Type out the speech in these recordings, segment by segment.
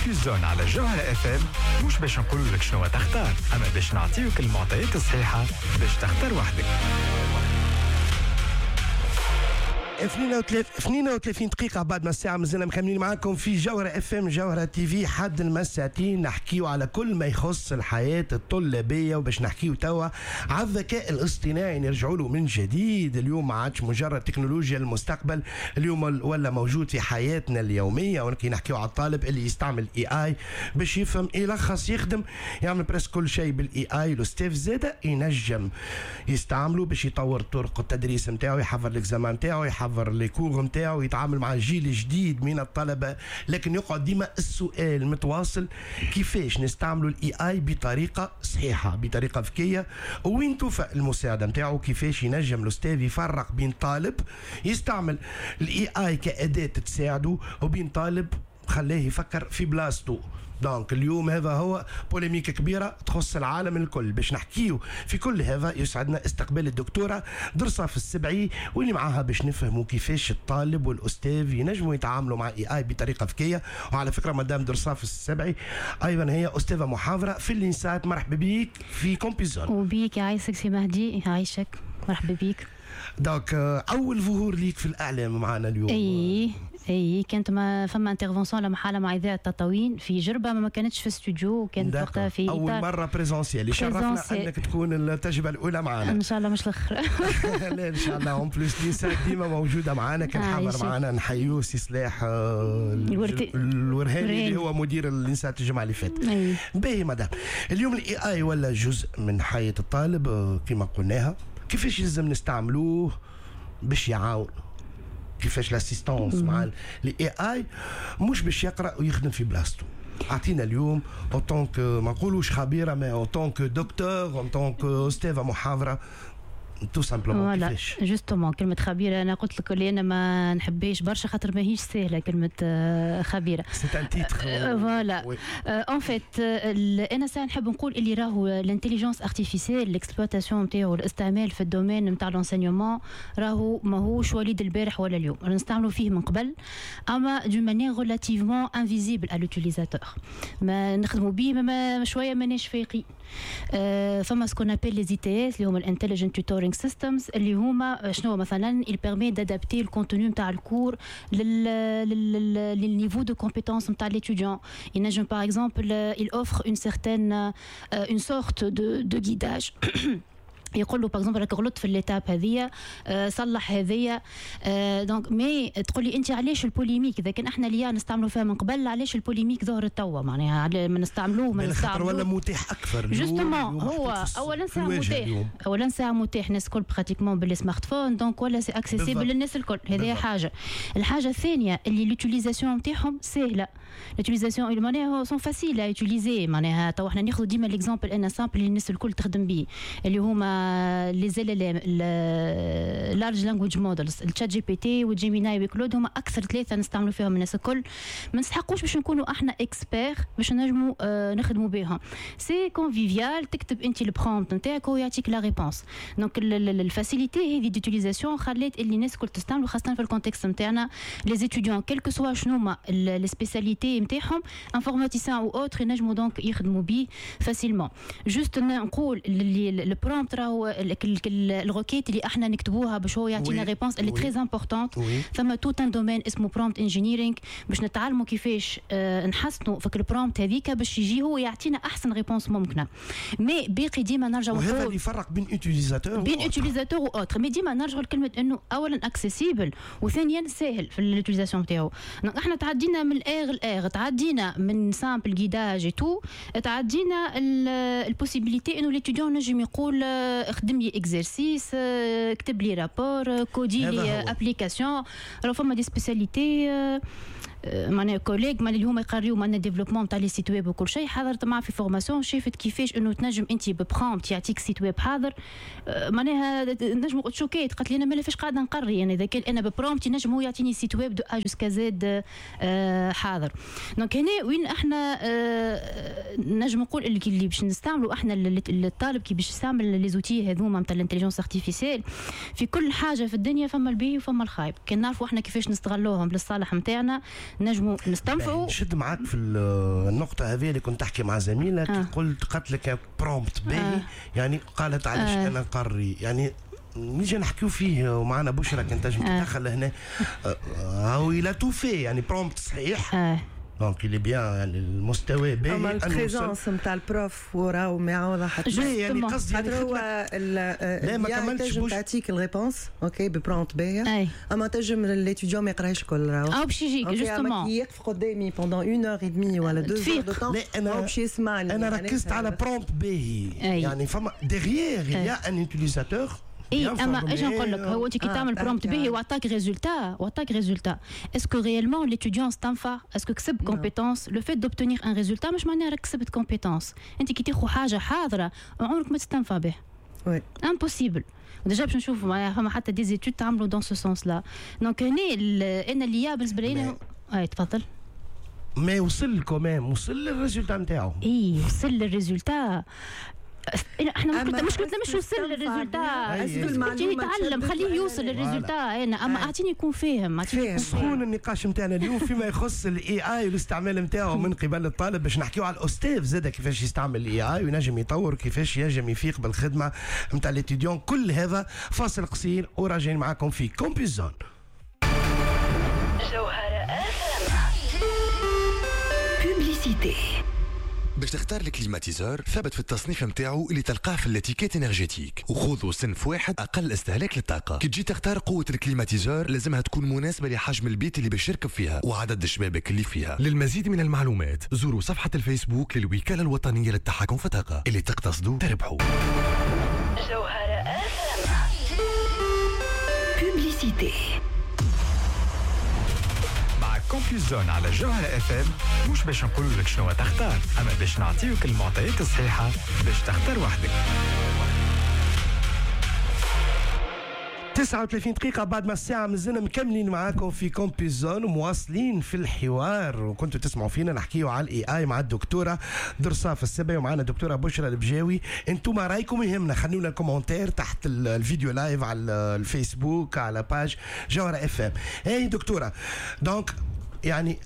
Campus Zone على جوهرة اف ام، مش باش نقول لك شنو تختار، اما باش نعطيوك المعطيات الصحيحة باش تختار وحدك. 32 دقيقة بعد ما الساعة، مازلنا مكملين معاكم في جوهرة اف ام، جوهرة تي في، حد المساعتين نحكيو على كل ما يخص الحياة الطلابية، وباش نحكيو توا على الذكاء الاصطناعي نرجعوا له من جديد. اليوم ما عادش مجرد تكنولوجيا المستقبل، اليوم ولا موجود في حياتنا اليومية. ولكن نحكيو على الطالب اللي يستعمل AI باش يفهم، يلخص، يخدم، يعمل presque كل شيء بال AI. الاستاذ زاده ينجم يستعمله باش يطور طرق التدريس نتاعو، يحضر l'examen نتاعو، يحضر les cours نتاعو، يتعامل مع جيل جديد من الطلبة. لكن يقعد ديما السؤال متواصل، كيفاش نستعملوا ال AI بطريقة صحيحه، بطريقة ذكيه، وين توفى المساعدة نتاعو؟ كيفاش ينجم الاستاذ يفرق بين طالب يستعمل ال AI كاداة تساعده وبين طالب خلاه يفكر في بلاصتو؟ donc اليوم هذا هو polémique كبيرة تخص العالم الكل. باش نحكيو في كل هذا يسعدنا استقبال الدكتورة درصاف السبعي، واللي معاها باش نفهموا كيفاش الطالب والاستاذ ينجموا يتعاملوا مع AI بطريقة ذكيه. وعلى فكره، مدام درصاف السبعي ايضا هي استاذه محاضرة في الانسات. مرحبا بك في Campus Zone. وبيك، يعيشك سي مهدي، يعيشك، مرحبا بك. donc اول ظهور ليك في الاعلام معنا اليوم. اي، كانت ما فما intervention لمحاله مع اذاعة تطاوين في جربه، ما كانتش في استوديو، كانت وقتها في اول مرة présentiel. يشرفنا انك تكون التجربة الاولى معنا. ان شاء الله مش الاخر. لا، ان شاء الله. en plus l'INSAT ديما موجودة معنا، كان حاضر معنا، نحيوه، سي صلاح الورهاني اللي هو مدير الانسات الجمعة اللي فاتت. باهي مدام، اليوم ال AI ولا جزء من حياة الطالب كما قلناها، كيفاش يلزم نستعملوه باش يعاون؟ كيفاش l'assistance مع ال AI مش باش يقرا ويخدم في بلاصتو؟ اعطينا اليوم en tant que، ما نقولوش خبيره، mais en tant que docteur، en tant que استاذه محاضره، tout simplement كيفاش؟ justement، كلمة خبيرة أنا قلت لك اللي أنا ما نحبهاش برشا، خاطر ماهيش سهلة كلمة خبيرة. c'est un titre. voilà، en fait أنا ساعة نحب نقول اللي راهو l'intelligence artificielle، l'exploitation نتاعو، الاستعمال في ال domaine نتاع l'enseignement، راهو ماهوش وليد البارح ولا اليوم، نستعملوا فيه من قبل، اما d'une manière relativement invisible à l'utilisateur. ما نخدموا به ما شوية ماناش فايقين. فما ce qu'on appelle les ITS، اللي هما ال intelligent tutoring systems، اللي هما شنو؟ مثلا il permet d'adapter ال contenu نتاع ال cours لل niveau de compétence نتاع l'étudiant. ينجم par exemple il offre une certaine une sorte de guidage، يقول له par exemple راك غلطت في l'étape هذيا، صلح هذيا. donc mais تقول لي انت علاش ال polémique؟ اذا كان احنا l'IA نستعملوا فيها من قبل، علاش ال polémique ظهرت توا؟ معناها ما نستعملوه ما نستعملوه ولا متاح اكثر. justement، هو اولا ساعة متاح، اولا ساعة متاح الناس الكل pratiquement بال smartphone، donc ولا c'est accessible للناس الكل. هذه حاجه. الحاجة الثانية اللي l'utilisation نتاعهم سهله، l'utilisation معناها sont faciles à utiliser. معناها تو احنا ناخذ ديما l'exemple انا simple اللي الناس الكل تخدم به، اللي هما les LLM، large language models، ال ChatGPT و Gemini و Claude، هما اكثر ثلاثة نستعملوا فيهم الناس الكل. ما نسحقوش باش نكونوا احنا experts باش نجموا نخدموا بهم. c'est convivial، تكتب انت ال prompt نتاعك وهو يعطيك la réponse. donc ال facilité هذه d'utilisation خلات اللي الناس الكل تستعملوا، خاصة في ال contexte نتاعنا les étudiants، quel que soit شنو هما les spécialités نتاعهم، informaticien ou autre، ينجموا donc يخدموا به facilement. juste نقول اللي ال prompt راهو ال requête اللي احنا نكتبوها باش هو يعطينا réponse اللي très importante. ثم tout un domaine اسمه prompt engineering باش نتعلموا كيفاش نحسنوا فك ال prompt هذيك باش يجي هو يعطينا احسن réponse ممكنه. mais باقي ديما نرجع وهذا اللي يفرق بين utilisateur بين utilisateur و autre. mais ديما نرجعوا لكلمة انه اولا accessible وثانيا ساهل في l'utilisation نتاعو. احنا تعدينا من l'ère l'ère، تعدينا من simple guidage et tout، تعدينا ال possibilité انه l'étudiant نجم يقول خدم لي exercice، كتب لي rapport، coder لي application. راه فما des spécialités، معناها collègues اللي هما يقريو معناها développement تاع les sites web وكل شيء، حضرت معاه في formation، شافت كيفاش انه تنجم انت ب prompt يعطيك site web حاضر. معناها نجم تشوكيت، قالت لي انا مالا فاش قاعدة نقري؟ يعني اذا كان انا ب prompt نجم هو يعطيني site web de A jusqu'à Z حاضر. donc هنا وين احنا نجم نقول اللي باش نستعملوا احنا، الطالب كي باش يستعمل les outils هذوما نتاع l'intelligence artificielle، في كل حاجة في الدنيا فما الباهي وفما الخايب. كان نعرفوا احنا كيفاش نستغلوهم للصالح نتاعنا. نجموا نستنفعوا. نشد معاك في النقطة هذه اللي كنت تحكي مع زميلك. قلت لك prompt باهي. يعني قالت علاش انا نقري، يعني نيجي نحكيو فيه ومعنا بشرى كان تنجم تدخل هنا. هو il a tout fait، يعني prompt صحيح. donc il est bien، يعني المستوى باهي. اما ال présence نتاع ال prof وراه ما يعوضها حتى. يعني قصدي يعني هو لا ما كملتش تنجم تعطيك ال réponse OK ب prompt باهيه، اما تنجم l'étudiant ما يقراش كل راهو او باش يجيك justement يقف قدامي pendant 1 heure et demie ولا 2 heures de temps. لا انا باش يسمعني. انا ركزت على prompt باهي، يعني فما derrière il y a un utilisateur. اي اما ايش نقول لك، هو انت كي تعمل prompt باهي وعطاك résultat، وعطاك résultat، est-ce que réellement l'étudiant استنفع؟ est-ce que كسب compétence؟ le fait d'obtenir un résultat مش معناها راك كسبت compétence. انت كي تاخذ حاجة حاضره عمرك ما تستنفع به، oui impossible. déjà باش نشوفوا معناها فما حتى des études تعملوا dans ce sens-là. donc هنا انا l'IA بالنسبة لي. اي تفضل. mais وصل quand même، وصل لل résultat نتاعو. اي وصل لل résultat. احنا مشكلتنا مش وصل لل résultat، يتعلم خليه يوصل لل résultat. انا اما اعطيني يكون فاهم. سخون النقاش نتاعنا اليوم فيما يخص ال AI والاستعمال نتاعو من قبل الطالب، باش نحكيو على الاستاذ زاد كيفاش يستعمل ال AI وينجم يطور، كيفاش ينجم يفيق بالخدمة نتاع l'étudiant. كل هذا فاصل قصير وراجعين معاكم في Campus Zone. جوهرة publicité. باش تختار ال climatiseur ثبت في التصنيف نتاعو اللي تلقاه في l'étiquette énergétique، وخذوا صنف واحد اقل استهلاك للطاقة. كي تجي تختار قوة ال climatiseur لازمها تكون مناسبة لحجم البيت اللي باش يركب فيها وعدد الشبابك اللي فيها. للمزيد من المعلومات زوروا صفحة الفيسبوك للوكاله الوطنية للتحكم في الطاقة. اللي تقتصدوا تربحوا. جوهرة publicité. Campus Zone على جوهرة FM، مش باش نقول لك شنو تختار، اما باش نعطيوك المعطيات الصحيحة باش تختار وحدك. 39 دقيقة بعد ما الساعة، مازلنا مكملين معاكم في Campus Zone ومواصلين في الحوار، وكنتوا تسمعوا فينا نحكيو على ال AI مع الدكتورة درصاف السبعي ومعنا الدكتورة بشرى البجاوي. انتم رايكم يهمنا، خلونا ال commentaire تحت الفيديو live على الفيسبوك على page جوهرة FM. اي دكتورة، donc يعني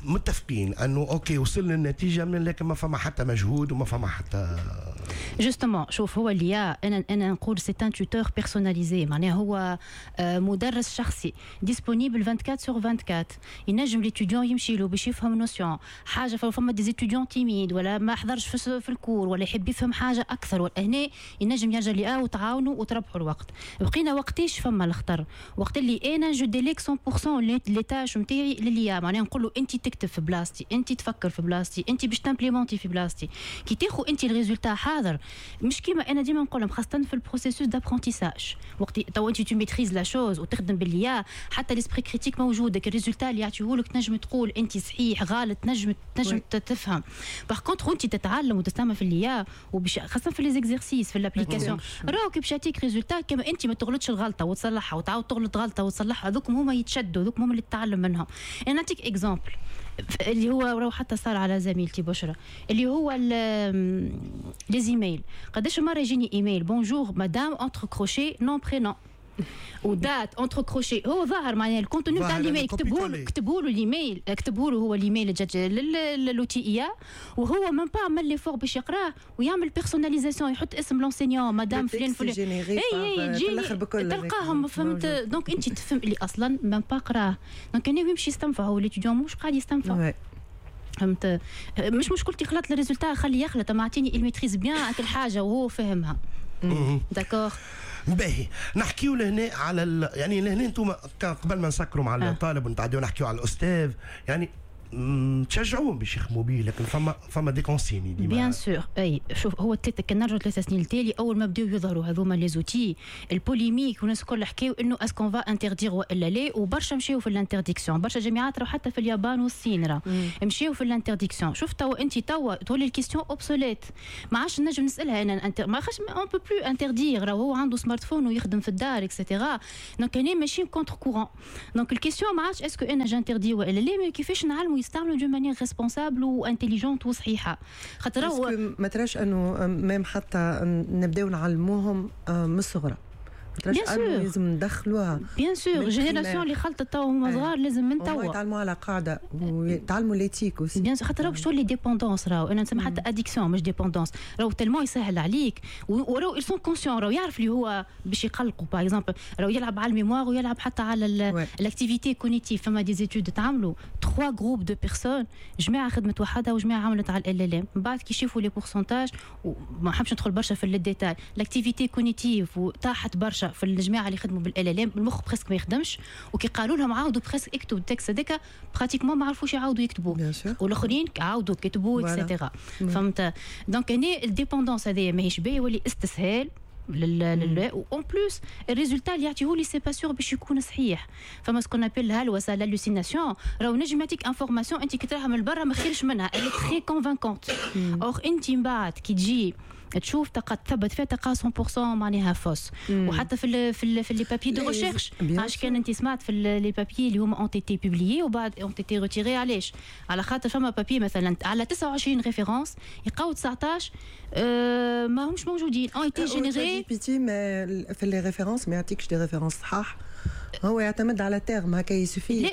متفقين انه OK وصلنا للنتيجة، من لكن ما فما حتى مجهود وما فما حتى justement. شوف هو l'IA انا نقول c'est un tuteur personnalisé، معناها هو مدرس شخصي disponible 24 sur 24. ينجم l'étudiant يمشي له باش يفهم notion حاجة. فما des étudiants timides ولا ما حضرش في ال cours ولا يحب يفهم حاجة اكثر، ولا هنا ينجم يرجع l'IA وتعاونوا وتربحوا الوقت. بقينا وقتاش فما الخطر؟ وقت اللي انا je délègue 100% les tâches نتاعي ل l'IA، معناها نقول له انت تكتب في بلاصتي، انت تفكر في بلاصتي، انت باش ت implémenter في بلاصتي. كي تاخذ انت ال résultat حاضر، مش كيما انا ديما نقول لهم خاصة في ال processus d'apprentissage، وقت تو انت tu maîtrises la chose وتخدم ب l'IA، حتى l'esprit critique موجود، ال résultat اللي يعطيهولك تنجم تقول انت صحيح غلط، تنجم تفهم. par contre انت تتعلم وتستعمل في l'IA، وبش خاصة في les exercices في l'application، راهو كي باش يعطيك résultat كما انت ما تغلطش الغلطة وتصلحها وتعاود تغلط غلطه وتصلحها، هذوك هما يتشدوا، هذوك هما اللي تتعلم منهم. انا نعطيك exemple اللي هو راهو حتى صار على زميلتي بشرى، اللي هو les emails. قداش مرة يجيني email bonjour madame entre crochets nom prénom و date entre crochets، هو ظاهر معناها ال contenu تاع الايميل، كتبوا له الايميل، كتبوا له هو الايميل l'outil IA، وهو même pas عمل l'effort باش يقراه ويعمل personnalisation، يحط اسم l'enseignant madame فلان فلان، اي اي تجي تلقاهم، فهمت؟ donc انت تفهم اللي اصلا même pas قراه. donc انا يمشي يستنفع، هو l'étudiant مش قاعد يستنفع، فهمت؟ مش مشكلتي خلط ال résultat، خليه يخلط، ما اعطيني il maîtrise bien كل حاجة وهو فهمها. d'accord. باهي، نحكيو لهنا على يعني لهنا انتم قبل ما نسكروا مع الطالب ونتعديو نحكيو على الاستاذ، يعني تشجعوهم باش يخدموا به، لكن فما des consignes ديما. bien sûr. اي شوف هو كي نرجعوا 3 سنين التالي، اول ما بداو يظهروا هذوما les outils، ال polémique والناس الكل حكاو انه est-ce qu'on va interdire والا لا، وبرشا مشاو في l'interdiction، برشا جامعات راهو حتى في اليابان والصين راه مشاو في l'interdiction. شوف توا انت توا تولي ال question obsolète، ما عادش نجم نسالها انا، ما خاش on peut plus interdire، راهو هو عنده smartphone ويخدم في الدار et cetera. donc انا ماشيين contre-courant. donc ال question ما عادش est-ce que انا j'interdis والا لا، mais كيفاش نعلموا يستعملوا d'une manière responsable و intelligente وصحيحه. خاطر ما تراش انه même حتى نبداو نعلموهم من الصغرى، bien sûr لازم ندخلوها. bien sûr génération اللي خلطت توا هما صغار لازم من توا يتعلموا على قاعدة ويتعلموا l'éthique aussi. bien sûr خاطر راهو باش تولي dépendance، راهو انا نسمي حتى addiction مش dépendance، راهو tellement يسهل عليك وراهو ils sont conscients، راهو يعرف اللي هو باش يقلقوا. par exemple راهو يلعب على ال mémoire ويلعب حتى على l'activité cognitive. فما des études تعملوا 3 groupes de personnes، جماعة خدمت وحدها وجماعه عملت على ال LLM، من بعد كي يشوفوا les pourcentages، وما نحبش ندخل برشا في ال détails، l'activité cognitive طاحت برشا في الجماعة اللي خدموا بال LLM، المخ presque ما يخدمش، وكي قالوا لهم عاودوا presque اكتبوا ال texte هذاك pratiquement ما عرفوش يعاودوا يكتبوا، والاخرين عاودوا كتبوا et cetera. فهمت؟ donc هنا ال dépendance هذه ماهيش باهيه، يولي استسهال لل en plus ال résultat اللي يعطيه لي c'est pas sûr باش يكون صحيح. فما ce qu'on appelle الهلوسه، l'hallucination، راهو نجم يعطيك information انت كي تراها من برا ما خيرش منها، elle est très convaincante، or انت من بعد كي تجي تشوف تلقى تثبت فيها تلقى 100% معناها fausse. وحتى في les papiers de recherche، علاش كان انت سمعت في les papiers اللي هما ont été publiés وبعد ont été retirés، علاش؟ على خاطر فما papier مثلا على 29 références يلقاو 19 ما همش موجودين، ont été générés. GPT في les références ما يعطيكش des références صحاح، هو يعتمد على terme هكا il suffit.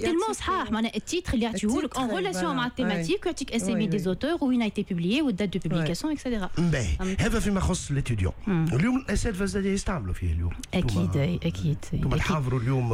tellement صحاح معناها ال titre اللي يعطيه لك en relation مع ال thématique، يعطيك اسامي des auteurs وين été publié وال date de publication et cetera. باهي، هذا فيما يخص l'étudiant. اليوم الاساتذة زاد يستعملوا فيه اليوم. اكيد اكيد. انتم تحاضروا اليوم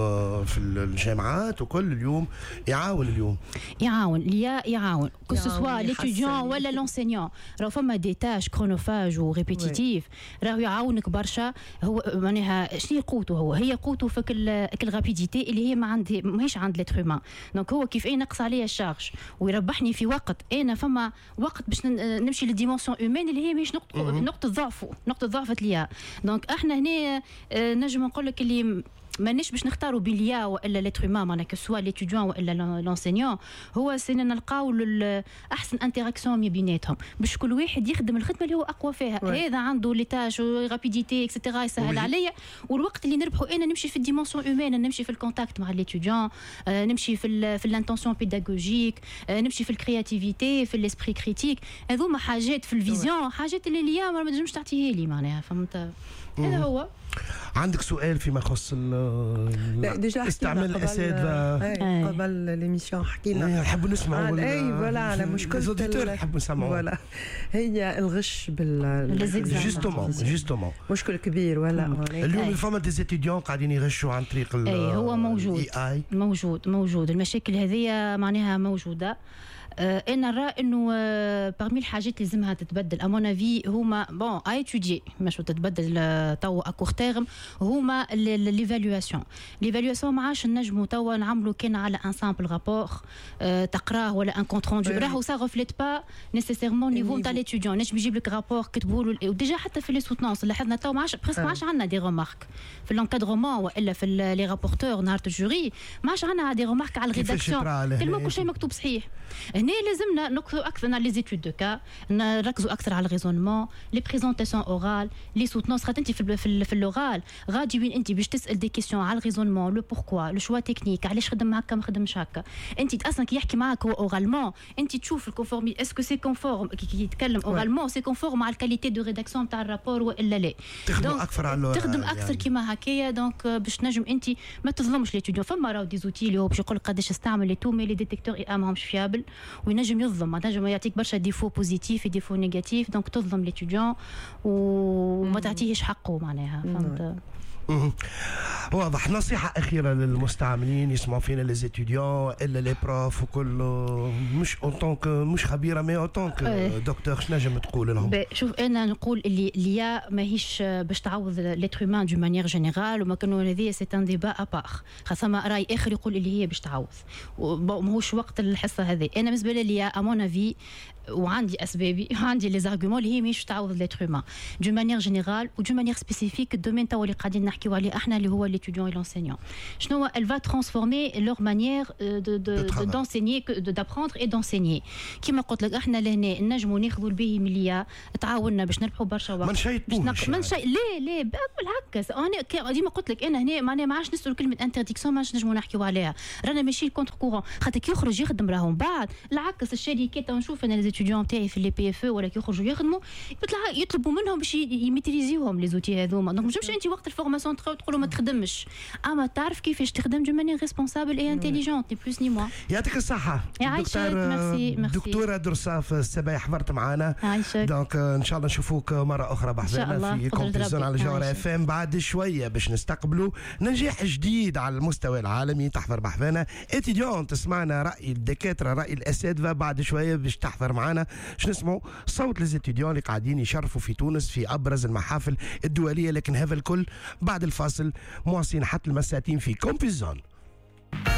في الجامعات وكل، اليوم يعاون، اليوم يعاون l'IA، يعاون que ce soit l'étudiant ولا l'enseignant. راهو فما des tâches chronophages و répétitives راهو يعاونك برشا. هو معناها شنو قوته؟ هو هي قوته في ال rapidité اللي هي ما عندي ماهيش عند l'être humain. donc هو كيف ينقص عليا ال charge ويربحني في وقت، انا فما وقت باش نمشي لل dimension humaine اللي هي ماهيش نقطة ضعفه، نقطة ضعف l'IA. donc احنا هنا نجم نقول لك اللي مانيش باش نختاروا بين l'IA والا l'être humain، معناها que ce soit l'étudiant والا l'enseignant، هو c'est نلقاو احسن interaction ما بيناتهم باش كل واحد يخدم الخدمة اللي هو اقوى فيها. هذا عنده les tâches rapidité et cetera يسهل عليا، والوقت اللي نربحه انا نمشي في ال dimension humaine، نمشي في ال contact مع l'étudiant، نمشي في l'intention pédagogique، نمشي في ال créativité، في l'esprit critique. هذوما حاجات في ال vision، حاجات اللي l'IA ما تنجمش تعطيها لي معناها، فهمت؟ هذا هو. عندك سؤال فيما يخص لا déjà استعمال الاساتذة؟ قبل l'émission حكينا. نحب نسمعوا. اي voilà على مشكلة نحب نسمعوا. voilà هي الغش بال justement justement. مشكل كبير ولا اليوم فما des étudiants قاعدين يغشوا عن طريق اي هو موجود AI. موجود موجود، المشاكل هذه معناها موجودة. انا نرى انه parmi الحاجات اللي لازمها تتبدل à mon avis هما bon à étudier مش تتبدل توا à court terme، هما l'évaluation. l'évaluation ما عادش نجموا توا نعملوا كان على un simple rapport تقراه ولا un compte rendu، راهو ça reflète pas nécessairement niveau تاع l'étudiant. نجم يجيب لك rapport كتبوا له، و déjà حتى في les soutenances لاحظنا توا ما عادش presque ما عادش عندنا des remarques في l'encadrement والا في les rapporteurs نهار ال jury، ما عادش عندنا des remarques على ال rédaction، tellement كل شيء مكتوب صحيح. هنا لازمنا نركزوا اكثر على les études de cas، نركزوا اكثر على ال raisonnement، les présentations orales، les soutenances. خاطر انت في l'oral غادي وين انت باش تسال des questions على ال raisonnement، le pourquoi، le choix technique، علاش خدم هكا ما خدمش هكا. انت اصلا كي يحكي معاك هو oralement انت تشوف ال conformité، est-ce que c'est conforme كي يتكلم oralement c'est conforme مع ال qualité de rédaction تاع ال rapport والا لا. تخدم اكثر على تخدم اكثر يعني. كيما هكايا donc باش نجم انت ما تظلمش l'étudiant. فما راهو des outils اللي هو باش يقول قداش استعمل et tout، mais les détecteurs IA ماهمش fiables وينجم يظلم، نجم يعطيك برشا défauts positifs، défauts négatifs، donc تظلم l'étudiant وما تعطيهش حقه معناها، فهمت؟ واضح. نصيحة أخيرة للمستعملين يسمعوا فينا، les étudiants إلا les profs وكل، مش en tant que مش خبيرة mais en tant que docteur، شنو نجم تقول لهم؟ شوف أنا نقول اللي l'IA ماهيش باش تعوض l'être humain d'une manière générale، وما كانوا هذه c'est un débat à part، خاطر راي اخر يقول اللي هي باش تعوض، ماهوش وقت الحصة هذه. انا بالنسبة لي à mon avis وعندي اسبابي وعندي les arguments اللي هي ماهيش تعوض l'être humain d'une manière générale و d'une manière spécifique ال domaine توا اللي قاعدين نحكيو عليه احنا اللي هو l'étudiant et l'enseignant. شنو elle va transformer leur manière de d'enseigner، d'apprendre et d'enseigner. كيما قلت لك احنا لهنا نجموا ناخذوا الباهي من l'IA تعاوننا باش نربحوا برشا وقت. ما نشيطوش. ما نشي لا لا بالعكس، انا ديما قلت لك انا هنا معناها ما عادش نسالوا كلمة interdiction، ما عادش نجموا نحكيو عليها، رانا ماشي contre-courant، خاطر كي يخرج يخدم راهم بعد العكس الشركات. نشوف انا les étudiants تاعي في les PFE ولا كي يخرجوا يخدموا يطلبوا منهم باش يميتريزيوهم les outils هذوما. donc ما تنجمش انت وقت ال formation concentré وتقولوا ما تخدمش، اما تعرف كيفاش تخدم d'une manière responsable et intelligente، ni plus ni moins. يعطيك الصحة. يعيشك، merci merci. دكتورة درصاف السباعي حضرت معنا. يعيشك. donc ان شاء الله نشوفوك مرة أخرى بحذانا في Campus Zone على جوهرة FM. بعد شوية باش نستقبلوا نجاح جديد على المستوى العالمي، تحضر بحذانا étudiante، تسمعنا رأي الدكاترة، رأي الأساتذة. بعد شوية باش تحضر معنا باش نسمعوا صوت les étudiants اللي قاعدين يشرفوا في تونس في أبرز المحافل الدولية، لكن هذا الكل بعد الفاصل. مواصلين حتى المساتين في Campus Zone.